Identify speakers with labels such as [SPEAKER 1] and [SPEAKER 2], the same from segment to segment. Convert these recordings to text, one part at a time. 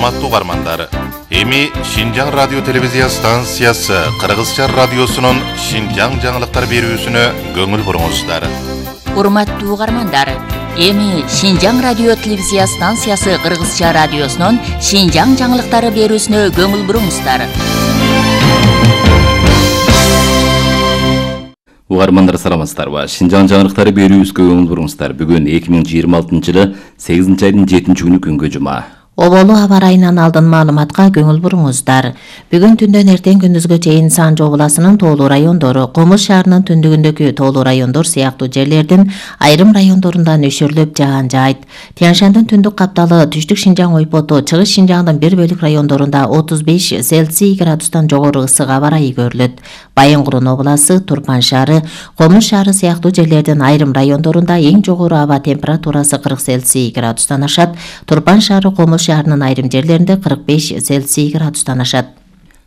[SPEAKER 1] Урматтуу угармандар, эми Шинжаң радио телевизия станциясы Кыргызча радиосунун Шинжаң жаңылыктар берүүсүнө көңүл буруңуздар.
[SPEAKER 2] Урматтуу угармандар, эми Шинжаң радио телевизия станциясы Кыргызча радиосунун Шинжаң жаңылыктары берүүсүнө көңүл буруңуздар.
[SPEAKER 3] Угармандар саламатсыздарбы? Шинжаң жаңылыктары берүүсүнө көңүл буруңуздар. Бүгүн 2026-жылы 8-айдын 7-күнү күнгө жума.
[SPEAKER 4] Оболу аба ырайынан алдын маалыматка көңүл буруңуздар. Бүгүн түндөн эртең күндүзгө чейин Санжы областынын тоолуу райондору, Комуз шаарынын түндүгүндөгү тоолуу райондор сыяктуу жерлердин айрым райондорунда нөшөрлөп жаан жаайт. Тянь-Шандын түндүк капталы, түштүк Шинжаң ойпоту, чыгыш Шинжаңдын бир бөлүк райондорунда 35 Цельсий градустан жогору ысык аба ырайы көрүлөт. Байынгурун областы, Турпан шаары, Комуз шаары сыяктуу жерлердин айрым райондорунда эң жогору аба температурасы 40 Цельсий градустан ашат. Турпан шаары, Комуз шаарынын айрым жерлеринде 45 Цельсий градустан ашат.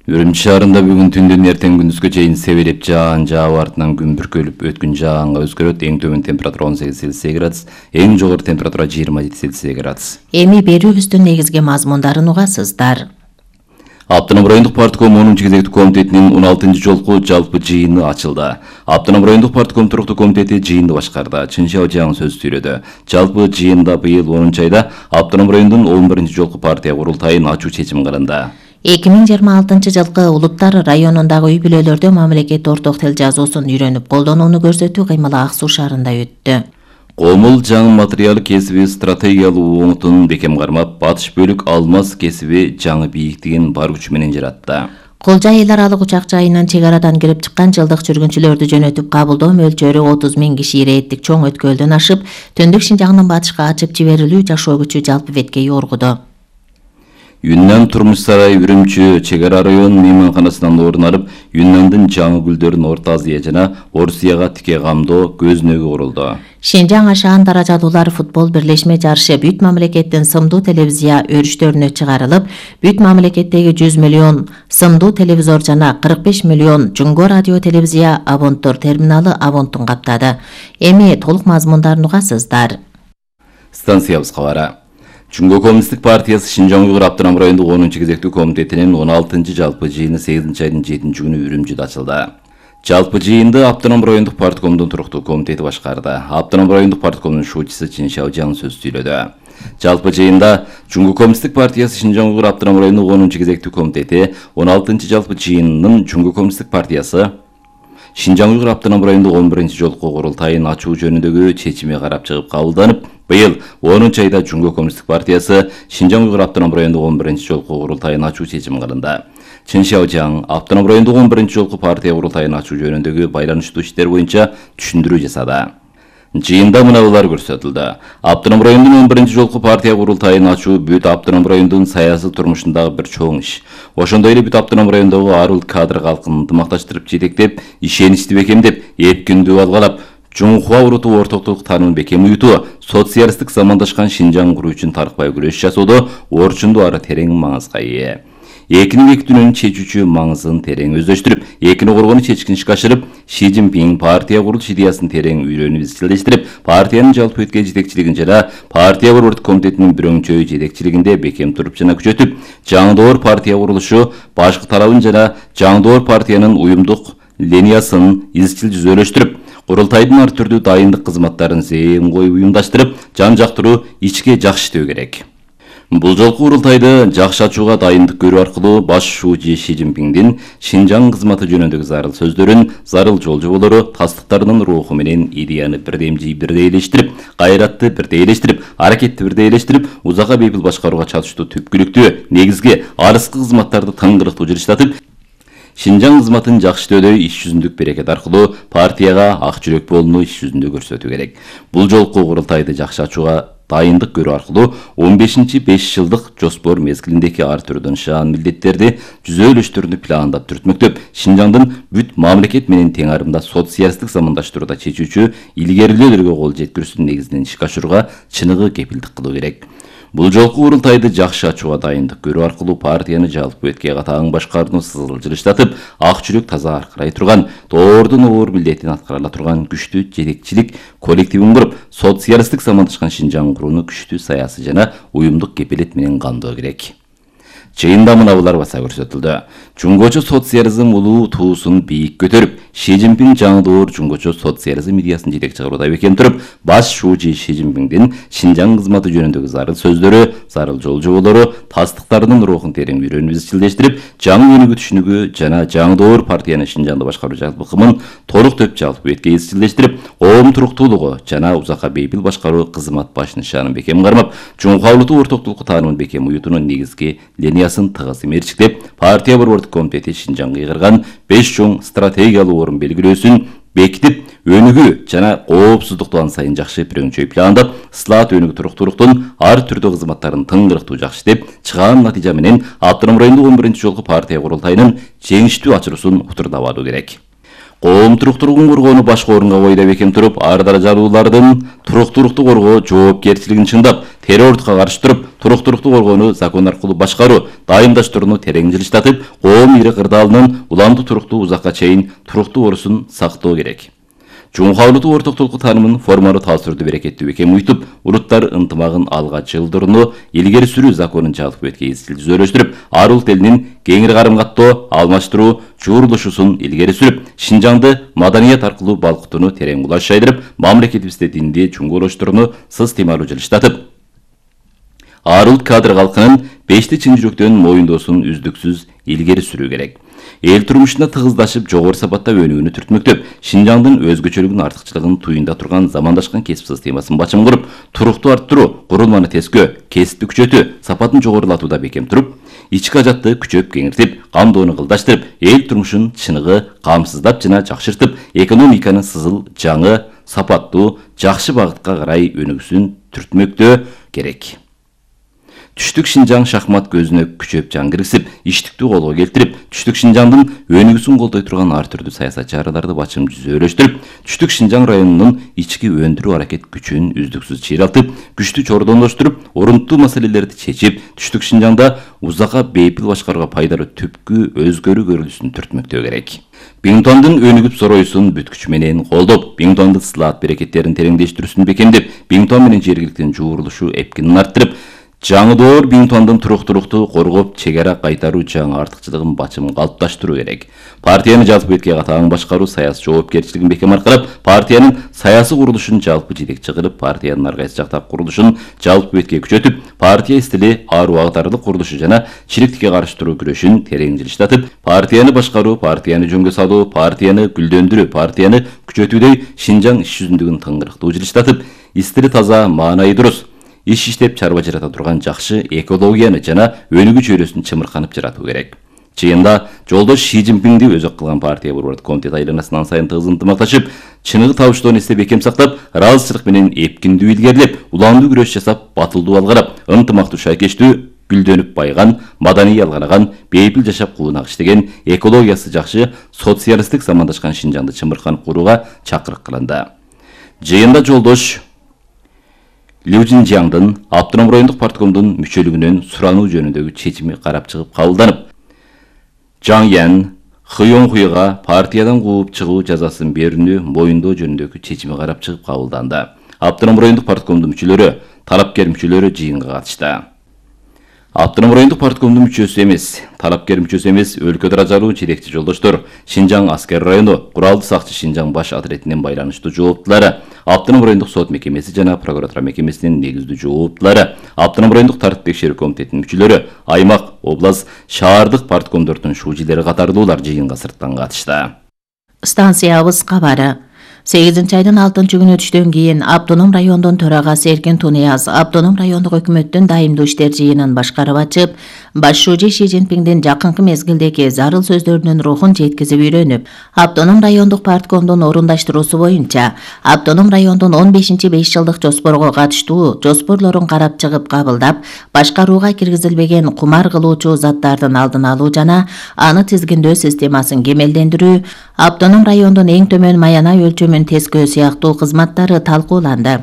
[SPEAKER 3] Үрүмчү шаарында бүгүн түндөн эртең күндүзгө чейин себелеп жаан жаап артынан күн бүркөлүп өткөн жаанга өзгөрөт. Эң төмөн температура 18 Цельсий градус, эң жогору температура 27 Цельсий градус.
[SPEAKER 4] Эми берүүбүздүн негизги мазмундарын угасыздар.
[SPEAKER 3] Автоном райондук партком 10-чу кезектүү комитетинин 16-чы жолку жалпы жыйыны ачылды. Автоном райондук партком туруктуу комитети жыйынды башкарды. Чынча Жаң сөз сүйлөдү. Жалпы жыйында быйыл 10-чу айда автоном райондун 11-чи жолку партия курултайын ачуу чечим кылынды.
[SPEAKER 4] 2026 жылкы улуттар районундагы үй-бүлөлөрдө мамлекет орток тил жазуусун үйрөнүп колдонууну көрсөтүү кыймылы Ак Суу шаарында өттү.
[SPEAKER 3] Комул жаңы материал кесиби стратегиялуу оңутун бекем кармап, батыш бөлүк алмаз кесиби жаңы бийиктигин бар күчү менен жаратты.
[SPEAKER 4] Колжа эл аралык учак жайынан чек арадан кирип чыккан жылдык жүргүнчүлөрдү жөнөтүп кабылдоо мөлчөрү 30 000 киши ирээттик чоң өткөлдөн ашып, түндүк Шинжаңдын батышка ачып жиберилүү жашоо күчү жалпы бетке йоргуду.
[SPEAKER 3] Юннан турмуш сарай Үрүмчү чек ара район мейманканасынан орун алып, Юннандын жаңы гүлдөрүн Орто Азия жана Орусияга тике камдоо көзүнөгү курулду.
[SPEAKER 4] Шинжаң ашаан даражалуулар футбол бирлешме жарышы бүт мамлекеттин сымдуу телевизия өрүштөрүнө чыгарылып, бүт мамлекеттеги 100 миллион сымдуу телевизор жана 45 миллион Жунго радио телевизия абонттор терминалы абонтун каптады. Эми толук мазмундарын угасыздар.
[SPEAKER 3] Станциябыз кабары. Жунго коммунисттик партиясы Шинжаң Уйгур автоном райондук 10-чу кезектүү комитетинин 16-чы жалпы жыйыны 8-айдын 7-күнү Үрүмчүдө ачылды. Жалпы жыйынды автоном райондук парткомдун туруктуу комитети башкарды. Автоном райондук парткомдун шуучусу Чынча Жаң сөз сүйлөдү. Жалпы жыйында Жунго коммунисттик партиясы Шинжаң Уйгур автоном райондук 10-чу кезектүү комитети 16-чы жалпы жыйынынын Жунго коммунисттик партиясы Шинжаң Уйгур автоном райондук 11-чи жолку курултайын ачуу жөнүндөгү чечими карап чыгып кабылданып, быйыл 10-чу айда Жунго коммунисттик партиясы Шинжаң Уйгур автоном райондук 11-чи жолку курултайын ачуу чечим кылынды. Чынча Жаң автоном райондук 11-чи жолку партия курултайын ачуу жөнүндөгү байланыштуу иштер боюнча түшүндүрүү жасады. Жыйында мыналар көрсөтүлдү. Автоном райондун 11-чи жолку партия курултайын ачуу бүт автоном райондун саясий турмушундагы бир чоң иш. Ошондой эле бүт автоном райондогу арыл кадр калкын ынтымакташтырып жетектеп, ишеничти бекемдеп, эркиндүү алгалап, Жунхуа уруту ортоктук таанымын бекем уютуу, социалисттик замандашкан Шинжаң куруу үчүн таркпай күрөш жасоодо орчундуу ары терең маңызга ээ. Экини бекитүүнүн чечүүчү маңызын терең өздөштүрүп, экини коргону чечкин ишке ашырып, Ши Цзиньпин партия курулуш идеясын терең үйрөнүп изчилдештирип, партиянын жалпы өткөн жетекчилигин жана партия борбордук комитетинин бирөңчө жетекчилигинде бекем туруп жана күчөтүп, жаңдоор партия курулушу башкы талабын жана жаңдоор партиянын уюмдук линиясын изчил жүзөлөштүрүп, курултайдын ар түрдүү дайындык кызматтарын зээн коюп уюмдаштырып, жан жактыруу ичке жакшы иштөө керек. Бул жолку курултайды жакшы ачууга дайындык көрүү аркылуу баш шуучу Ши Цзиньпиндин Шинжаң кызматы жөнүндөгү зарыл сөздөрүн, зарыл жол жоболору, тастыктарынын руху менен идеяны бирдемжий бирдейлештирип, кайратты бирдейлештирип, аракетти бирдейлештирип, узакка бейпил башкарууга чатыштуу түпкүлүктүү, негизги, арыскы кызматтарды тыңгырыктуу жырыштатып, Шинжаң кызматын жакшы иштөөдө иш жүзүндүк берекет аркылуу партияга ак жүрөк болууну иш жүзүндө көрсөтүү керек. Бул жолку курултайды жакшы ачууга дайындык көрүү аркылуу 15-5 жылдык жоспор мезгилиндеги ар түрдүү нышан милдеттерди жүзөлөштөрүнү пландап түртмөктөп, Шинжаңдын бүт мамлекет менен тең арымда социалисттик замандаштырууда чечүүчү илгерилөөлөргө кол жеткирүүсүнүн негизинен ишке ашырууга чыныгы кепилдик кылуу керек. Бул жолку курултайды жакшы ачууга дайындык көрүү аркылуу партияны жалпы өткө катаң башкарууну сызыл жылыштатып, ак жүрөк таза аркырай турган, тоордун оор милдетин аткара ала турган күчтүү жетекчилик коллективин куруп, социалисттик замандашкан Шинжаң курууну күчтүү саясий жана уюмдук кепилет менен камдоо керек. Жыйында мынабулар баса көрсөтүлдү. Жунгочу социализм улуу туусун бийик көтөрүп, Ши Цзиньпин жаңдоор жунгочу социализм идеясын жетекчи кылууда бекем туруп, баш шуучу Ши Цзиньпиндин Шинжаң кызматы жөнүндөгү зарыл сөздөрү, зарыл жол жоболору, тастыктардын рухун терең үйрөнүп изчилдештирип, жаңы өнүгүү түшүнүгү жана жаңдоор партияны Шинжаңды башкаруу жалпы ыкымын толук төп жалпы бетке изчилдештирип, коом туруктуулугу жана узакка бейпил башкаруу кызмат баш нишанын бекем кармап, жумгавлытуу ортоктулукку таанымын бекем уютуунун негизги линиясын тыгыз мерчиктеп, партия борбордук комитети Шинжаңга ыйгарган 5 чоң стратегиялуу орун белгилөөсүн бекитип, өнүгүү жана коопсуздукту ан сайын жакшы пирөңчөй пландап, ысылаат өнүгүү туруктуулуктун ар түрдүү кызматтарын тыңгырыктуу жакшы деп, чыгаан натыйжа менен Автоном райондук 11-чи жолку партия курултайынын жеңиштүү ачыруусун утурдабадуу керек. Коом туруктуулугун коргоону башкы орунга койду бекем туруп, ар даражалуулардын туруктуулукту коргоо жоопкерчилигин чыңдап, террордукка каршы туруп, туруктуулукту коргоону закон аркылуу башкаруу, дайымдаштырууну терең жылыштатып, коом ири кырдаалынын уламдуу туруктуу узакка чейин туруктуу орусун сактоо керек. Жумгавлытуу ортоктулукку таанымын формалуу талшырды берекеттүү бекем уйтуп, уруттар ынтымагын алга жылдырууну илгери сүрүү законун жалпы бетке изчил түзөлөштүрүп, ар улут элинин кеңири карым каттоо, алмаштыруу, жуурулушуусун илгери сүрүп, Шинжаңды маданият аркылуу балкытууну терең кулаш жайдырып, мамлекетибизде динди чуңгуолоштурууну сыстемалуу жылыштатып, ар улут кадр калкынын бешти чын жүрөктөн моюндоосун үздүксүз илгери сүрүү керек. Эл турмушуна тыгыздашып, жогору сапатта өнүгүүнү түртмөктөп, Шинжаңдын өзгөчөлүгүн артыкчылыгын туюнда турган замандашкан кесип системасын бачым куруп, туруктуу арттыруу, курулманы тескөө, кесипти күчөтүү, сапатын жогорулатууда бекем туруп, ички ажатты күчөп кеңиртип, камдоону кылдаштырып, эл турмушун чыныгы камсыздап жана жакшыртып, экономиканын сызыл, жаңы, сапаттуу, жакшы багытка карай өнүгүүсүн түртмөктөө керек. Түштүк Шинжаң шахмат көзүнө күчөп жан киргизип, иштиктүү колго келтирип, Түштүк Шинжаңдын өнүгүүсүн колдой турган ар түрдүү саясат чараларды бачым жүзөлөштүрүп, Түштүк Шинжаң районунун ички өндүрүү аракет күчүн үздүксүз чыйралтып, күчтүү чордондоштуруп, орунттуу маселелерди чечип, Түштүк Шинжаңда узакка бейпил башкарууга пайдалуу түпкү өзгөрүү көрүлүшүн түртмөктөө керек. Биңтуандын өнүгүп сороюусун бүт күч менен колдоп, Биңтуандын ысылаат берекеттерин тереңдештирүүсүн бекемдеп, Биңтуан менен жергиликтин жуурулушу эпкинин арттырып, жаңыдоор Биңтуандын туруктуулукту коргоп, чек ара кайтаруу жаңы артыкчылыгын бачым калыпташтыруу керек. Партияны жалпы бетке катаң башкаруу саясий жоопкерчилигин бекем аркалап, партиянын саясий курулушун жалпы жетекчи кылып, партиянын ар кайсы жактап курулушун жалпы бетке күчөтүп, партия стили ар убагытарлык курулушу жана чириктикке каршы туруу күрөшүн терең жылыштатып, партияны башкаруу, партияны жөнгө салуу, партияны гүлдөндүрүү, партияны күчөтүүдөй Шинжаң иш жүзүндүгүн тыңгырыктуу жылыштатып, истили таза, маанайы дурус, иш иштеп чарба жарата турган жакшы экологияны жана өнүгүү чөйрөсүн чымырканып жаратуу керек. Чыйында жолдош Ши Цзиньпинди өзөк кылган партия борбордук комитет айланасынан сайын тыгыз ынтымакташып, чыныгы табыштоону эсте бекем сактап, ыраазычылык менен эпкиндүү илгерилеп, уламдуу күрөш жасап, батылдуу алгарап, ынтымактуу шайкештүү, гүлдөнүп байган, маданий алганаган, бейпил жашап куунак иштеген, экологиясы жакшы, социалисттик замандашкан Шинжаңды чымырканып курууга чакырык кылынды. Жыйында жолдош Лю Цзиньжаңдын Автоном райондук парткомдун мүчөлүгүнөн сурануу жөнүндөгү чечими карап чыгып кабылданып, Жаң Ян Хыёнхуйга партиядан кууп чыгуу жазасын берүүнү моюндоо жөнүндөгү чечими карап чыгып кабылданды. Автоном райондук парткомдун мүчөлөрү, талапкер мүчөлөрү жыйынга катышты. Автоном райондук парткомдун мүчөсү эмес, талапкер мүчөсү эмес, өлкө даражалуу жетекчи жолдоштор, Шинжаң аскер району, куралдуу сакчы Шинжаң баш отрядинин байланыштуу жооптулары, Автоном райондук сот мекемеси жана прокуратура мекемесинин негиздүү жооптулары, Автоном райондук тартип текшерүү комитетинин мүчөлөрү, аймак, область, шаардык парткомдордун шуучилери катардуулар жыйынга сырттан катышты.
[SPEAKER 4] Станциябыз кабары. 8-айдын 6-күнү түштөн кийин Автоном райондун төрагасы Эркин Тунияз Автоном райондук өкмөттүн дайымдуу иштер жыйынын башкарып ачып, баш шууju Ши Цзиньпиндин жакынкы мезгилдеги зарыл сөздөрүнүн рухун жеткизип үйрөнүп, Автоном райондук парткомдун орундаштыруусу боюнча Автоном райондун 15-5 жылдык жоспорго катыштуу жоспорлорун карап чыгып кабылдап, башкарууга киргизилбеген кумар кылуучу заттардын алдын алуу жана аны тизгиндөө системасын кемелдендирүү, Автоном райондун эң төмөн маянай өлчөмүн тескөө сыяктуу кызматтары талкууланды.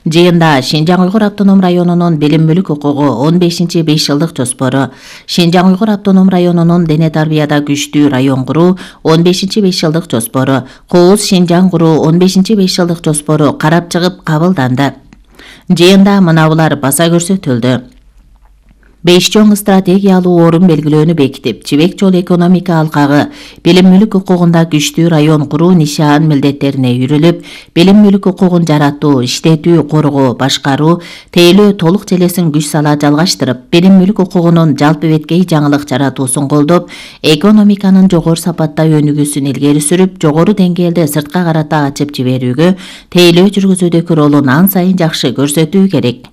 [SPEAKER 4] Жыйында Шинжаң Уйгур автоном районунун билим мүлүк укугу 15-5 жылдык жоспору, Шинжаң Уйгур автоном районунун дене тарбияда күчтүү район куруу 15-5 жылдык жоспору, Кооз Шинжаң куруу 15-5 жылдык жоспору карап чыгып кабылданды. Жыйында мынабулар баса көрсөтүлдү. 5 чоң стратегиялуу орун белгилөөнү бекитип, Жибек жол экономика алкагы билим мүлүк укугунда күчтүү район куруу нишан милдеттерине үйрүлүп, билим мүлүк укугун жаратуу, иштетүү, коргоо, башкаруу, тейлөө толук желесин күч сала жалгаштырып, билим мүлүк укугунун жалпы беткей жаңылык жаратуусун колдоп, экономиканын жогору сапатта өнүгүүсүн илгери сүрүп, жогору деңгээлде сыртка карата ачып жиберүүгө, тейлөө жүргүзүүдөгү ролун ан сайын жакшы көрсөтүү керек.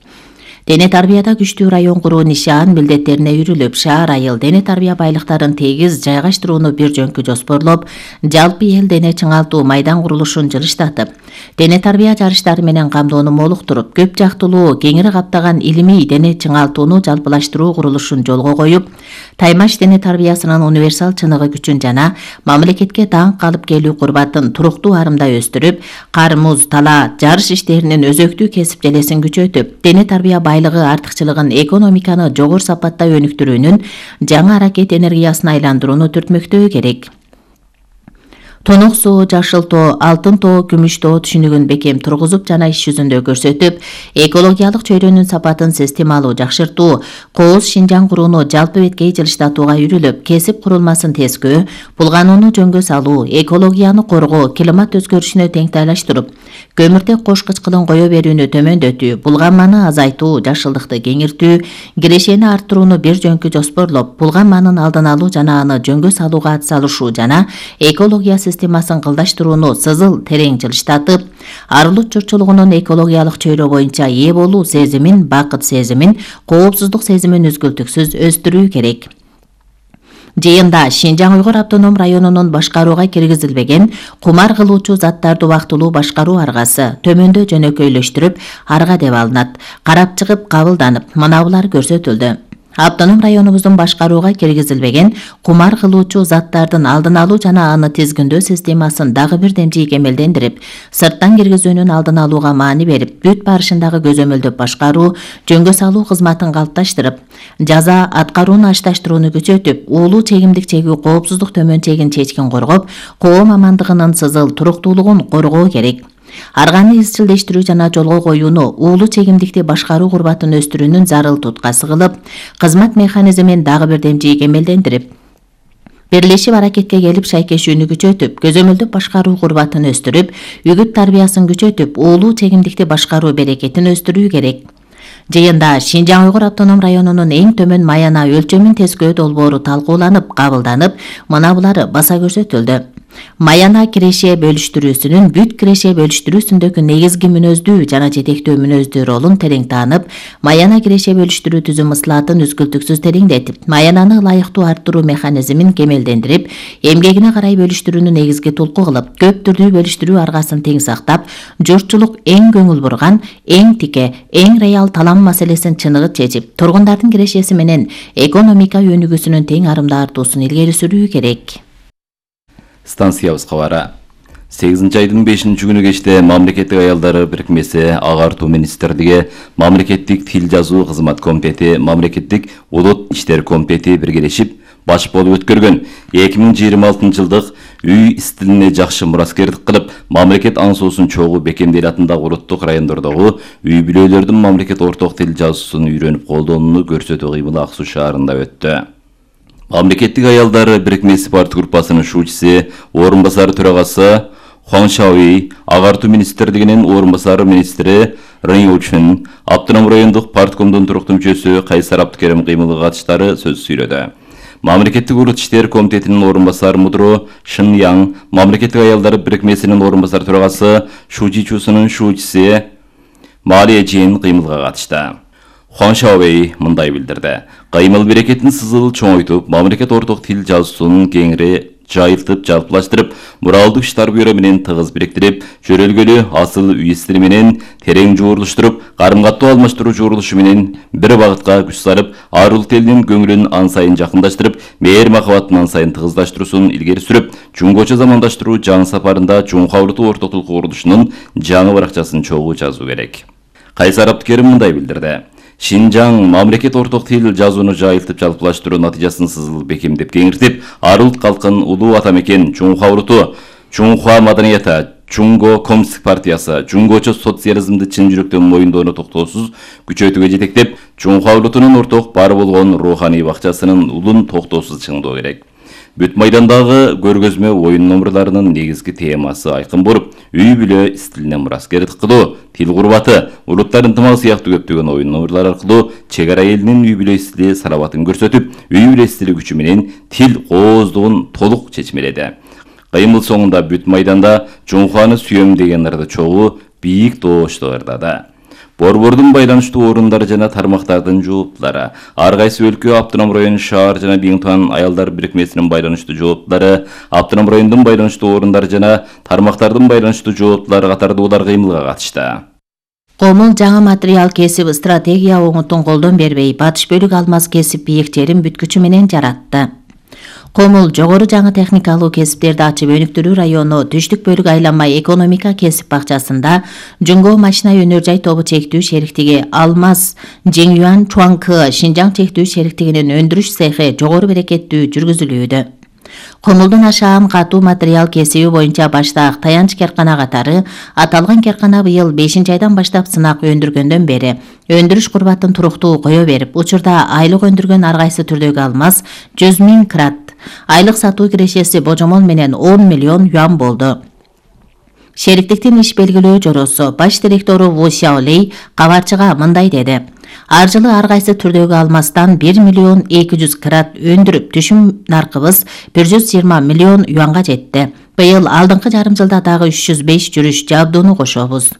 [SPEAKER 4] Дене тарбияда күчтүү район куруу нишан милдеттерине үйрүлүп, шаар айыл дене тарбия байлыктарын тегиз жайгаштырууну бир жөнкү жоспорлоп, жалпы эл дене чыңалтуу майдан курулушун жылыштатып, дене тарбия жарыштары менен камдоону молуктуруп, көп жактылуу кеңири каптаган илимий дене чыңалтууну жалпылаштыруу курулушун жолго коюп, таймаш дене тарбиясынын универсал чыныгы күчүн жана мамлекетке даңк калып келүү курбатын туруктуу арымдай өстүрүп, кар, муз, тала, жарыш иштеринин өзөктүү кесип желесин күчөтүп, дене тарбия байлыгы артыкчылыгын экономиканы жогору сапатта өнүктүрүүнүн жаңы аракет энергиясына айландырууну түртмөктөө керек. Тонок суу, жашыл тоо, алтын тоо, күмүш тоо түшүнүгүн бекем тургузуп жана иш жүзүндө көрсөтүп, экологиялык чөйрөнүн сапатын системалуу жакшыртуу, кооз Шинжаң курууну жалпы беткей жылыштатууга үйрүлүп, кесип курулмасын тескөө, булганууну жөнгө салуу, экологияны коргоо, климат өзгөрүшүнө теңтайлаштырып, көмүртек кош кычкылын кое берүүнү төмөндөтүү, булганманы азайтуу, жашылдыкты кеңиртүү, кирешени арттырууну бир жөнкү жоспорлоп, булганманын алдын алуу жана аны жөнгө салууга атсалышуу жана экология системасын кылдаштырууну сызыл терең жылыштатып, арылык журтчулугунун экологиялык чөйрө боюнча ээ болуу сезимин, бакыт сезимин, коопсуздук сезимин үзгүлтүксүз өстүрүү керек. Жыйында Шинжаң Уйгур автоном районунун башкарууга киргизилбеген кумар кылуучу заттарды убактылуу башкаруу аргасы төмөндө жөнөкөйлөштүрүп, арга деп алынат. Карап чыгып кабылданып, мынабулар көрсөтүлдү. Автоном районубуздун башкарууга киргизилбеген кумар кылуучу заттардын алдын алуу жана аны тизгиндөө системасын дагы бир демжий кемелдендирип, сырттан киргизүүнүн алдын алууга маани берип, бүт барышындагы көзөмөлдөп башкаруу, жөнгө салуу кызматын калыпташтырып, жаза аткарууну ашташтырууну күчөтүп, уулуу чегимдик чегүү коопсуздук төмөн чегин чечкин коргоп, коом амандыгынын сызыл туруктуулугун коргоо керек. Арганы изчилдештирүү жана жолго коюуну, уулуу чегимдикти башкаруу курбатын өстүрүүнүн зарыл туткасы кылып, кызмат механизмин дагы бир демжий кемелдендирип, бирлешип аракетке келип шайкешүүнү күчөтүп, көзөмөлдөп башкаруу курбатын өстүрүп, үгүт тарбиясын күчөтүп, уулуу чегимдикти башкаруу берекетин өстүрүү керек. Жыйында Шинжаң Уйгур автоном районунун эң төмөн маяна өлчөмүн тескөө долбоору талкууланып, кабылданып, мынабулары баса көрсөтүлдү. Маяна киреше бөлүштүрүүсүнүн бүт киреше бөлүштүрүүсүндөгү негизги мүнөздүү жана жетектөө мүнөздүү ролун терең таанып, маяна киреше бөлүштүрүү түзүм ысылатын үзгүлтүксүз тереңдетип, маянаны ылайыктуу арттыруу механизмин кемелдендирип, эмгегине карай бөлүштүрүүнү негизги тулку кылып, көп түрдүү бөлүштүрүү аргасын тең сактап, журтчулук эң көңүл бурган, эң тике, эң реал талам маселесин чыныгы чечип, тургундардын кирешеси менен экономика өнүгүүсүнүн тең арымда артуусун илгери сүрүү керек.
[SPEAKER 3] Станциябыз кабары. 8 айдын 5-күнү кечте Мамлекеттик аялдары бирикмеси Агартуу министрлиги, Мамлекеттик тил жазуу кызмат комитети, Мамлекеттик улут иштер комитети биргелешип баш болуп өткөргөн 2026 жылдык үй стилине жакшы мураскердик кылып, мамлекет аңсоосун чогуу Бекемдел атындагы улуттук райондордогу үй бүлөлөрдүн мамлекет орток тил жазуусун үйрөнүп колдонууну көрсөтүү кыймылы Ак Суу шаарында өттү. Мамлекеттик аялдары бирикмеси парт группасынын шуучусу, орун басары төрагасы Хуан Шауи, Агартуу министрлигинин орун басары министри Рын Учун, Автоном райондук парткомдун туруктуу мүчөсү Кайсар Абдыкерим кыймылы катыштары сөз сүйлөдү. Мамлекеттик улут иштер комитетинин орун басары мудру Шын Яң, Мамлекеттик аялдары бирикмесинин орун басары төрагасы Шужичусунун шуучусу Малия Жин кыймылга катышты. Хуан Шауи мындай билдирди. Кыймыл берекетин сызыл чоңойтуп, мамлекет орток тил жазуусун кеңири жайылтып, жалпылаштырып, муралдык иштар бюро менен тыгыз бириктирип, жөрөлгөлүү асыл үй стили менен терең жуурулуштуруп, карым-каттоо алмаштыруу жуурулушу менен бир багытка күч салып, ар улут элинин көңүлүн ан сайын жакындаштырып, мээр махабатын ан сайын тыгыздаштыруусун илгери сүрүп, жуңгочо замандаштыруу жаңы сапарында Жуңха улуттук ортоктулук курулушунун жаңы баракчасын чогуу жазуу керек. Кайсар Абдыкерим мындай билдирди. Шинжаң мамлекет орток тил жазууну жайылтып жалпылаштыруу натыйжасын сызыл бекемдеп кеңиртип, ар улут калкын улуу атамекен Жуңха улуту, Жуңха маданияты, Жуңго коммунисттик партиясы, жуңгочо социализмди чын жүрөктөн моюндоону токтоосуз күчөтүүгө жетектеп, Чуңха улутунун орток бар болгон руханий бакчасынын улун токтоосуз чыңдоо керек. Бүт майдандагы көргөзмө оюн номерларынын негизги темасы айкын болуп, үй бүлө стилине мураскер кылуу, тил курбаты, улуттар ынтымагы сыяктуу көптөгөн оюн номерлар аркылуу чек ара элинин үй бүлө стили салабатын көрсөтүп, үй бүлө стили күчү менен тил кооздугун толук чечмеледи. Кыймыл соңунда бүт майданда Чуңханы сүйөм деген ырды чогуу бийик тоошто ырдады. Борбордун байланыштуу орундары жана тармактардын жооптулары, ар кайсы өлкө, Автоном район, шаар жана Биңтуан аялдар бирикмесинин байланыштуу жооптулары, Автоном райондун байланыштуу орундары жана тармактардын байланыштуу жооптулары катардуулар кыймылга катышты.
[SPEAKER 4] Комул жаңы материал кесип стратегия оңутун колдон бербей, батыш бөлүк алмаз кесип бийиктерин бүткүчү менен жаратты. Комул жогору жаңы техникалуу кесиптерди ачып өнүктүрүү району түштүк бөлүк айланма экономика кесип бакчасында Жуңго машина өнөр жай тобу чектүү шериктиги Алмаз Жеңюан Чуаңкы Шинжаң чектүү шериктигинин өндүрүш цехи жогору берекеттүү жүргүзүлүүдө. Комулдун ашаан катуу материал кесиби боюнча баштаак таянч керкана катары аталган керкана быйыл 5-айдан баштап сынак өндүргөндөн бери өндүрүш курбатын туруктуу кое берип, учурда айлык өндүргөн ар кайсы түрдөгү алмаз 100 000 крат, айлык сатуу кирешеси божомол менен 10 миллион юан болду. Шериктиктин иш белгилөө жоросу баш директору Ву Сяолей кабарчыга мындай деди. Ар жылы ар кайсы түрдөгү алмастан 1 миллион 200 крат өндүрүп, түшүм наркыбыз 120 миллион юанга жетти. Быйыл алдыңкы жарым жылда дагы 305 жүрүш жабдууну кошобуз.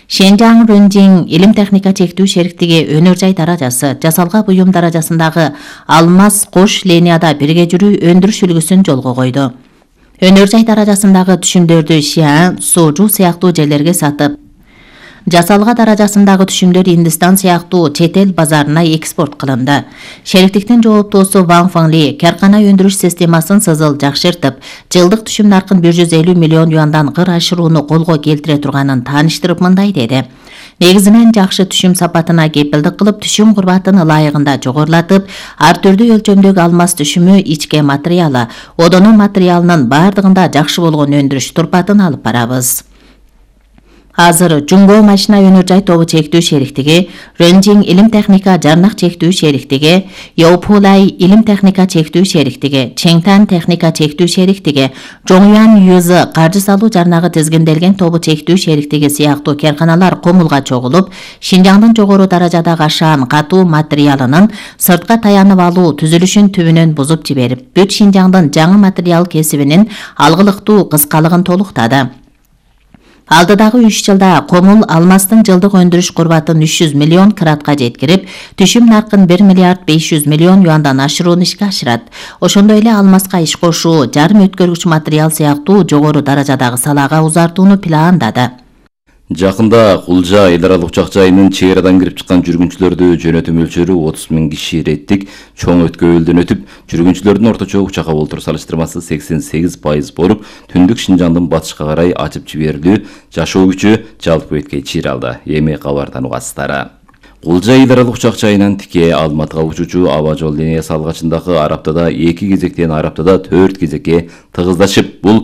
[SPEAKER 4] Шенжаң Рөнжиң илим техника чектүү шериктиги өнөр жай даражасы, жасалга буюм даражасындагы алмаз кош линияда бирге жүрүү өндүрүш үлгүсүн жолго койду. Өнөр жай даражасындагы түшүмдөрдү Шиан, Сожу сыяктуу жерлерге сатып, жасалга даражасындагы түшүмдөр Индистан сыяктуу чет эл базарына экспорт кылынды. Шериктиктин жооптуусу Ван Фаңли керкана өндүрүш системасын сызыл жакшыртып, жылдык түшүм наркын 150 миллион юандан кыр ашырууну колго келтире турганын тааныштырып мындай деди. Негизинен жакшы түшүм сапатына кепилдик кылып, түшүм курбатын ылайыгында жогорулатып, ар түрдүү өлчөмдөгү алмаз түшүмү, ичке материалы, одону материалынын бардыгында жакшы болгон өндүрүш турпатын алып барабыз. Азыр Жуңго машина өнөр жай тобу чектүү шериктиги, Рөнжиң илим техника жарнак чектүү шериктиги, Йоупулай илим техника чектүү шериктиги, Чеңтан техника чектүү шериктиги, Жоңюан Юзы каржы салуу жарнагы тизгинделген тобу чектүү шериктиги сыяктуу керканалар Комулга чогулуп, Шинжаңдын жогору даражадагы ашаан катуу материалынын сыртка таянып алуу түзүлүшүн түбүнөн бузуп жиберип, бүт Шинжаңдын жаңы материал кесибинин алгылыктуу кыскалыгын толуктады. Алдыдагы 3 жылда Комул алмастын жылдык өндүрүш курбатын 300 миллион кратка жеткирип, түшүм наркын 1 миллиард 500 миллион юандан ашырууну ишке ашырат. Ошондой эле алмазга иш кошуу, жарым өткөргүч материал сыяктуу жогору даражадагы салаага узартууну пландады.
[SPEAKER 3] Жакында Кулжа эл аралык учак жайынын чек арадан кирип чыккан жүргүнчүлөрдү жөнөтүү мөлчөрү 30 000 киши реттик чоң өткөбөлдөн өтүп, жүргүнчүлөрдүн орточо учакка болтур салыштырмасы 88% болуп, түндүк Шинжаңдын батышка карай ачып жиберилүү жашоо күчү жалпы бетке чыйра алды. Эми кабардан угасыздар. Кулжа эл аралык учак жайынан тике Алматыга учуучу аба жол линиясы алгачындагы ар аптада 2 кезектен ар аптада 4 кезекке тыгыздашып, бул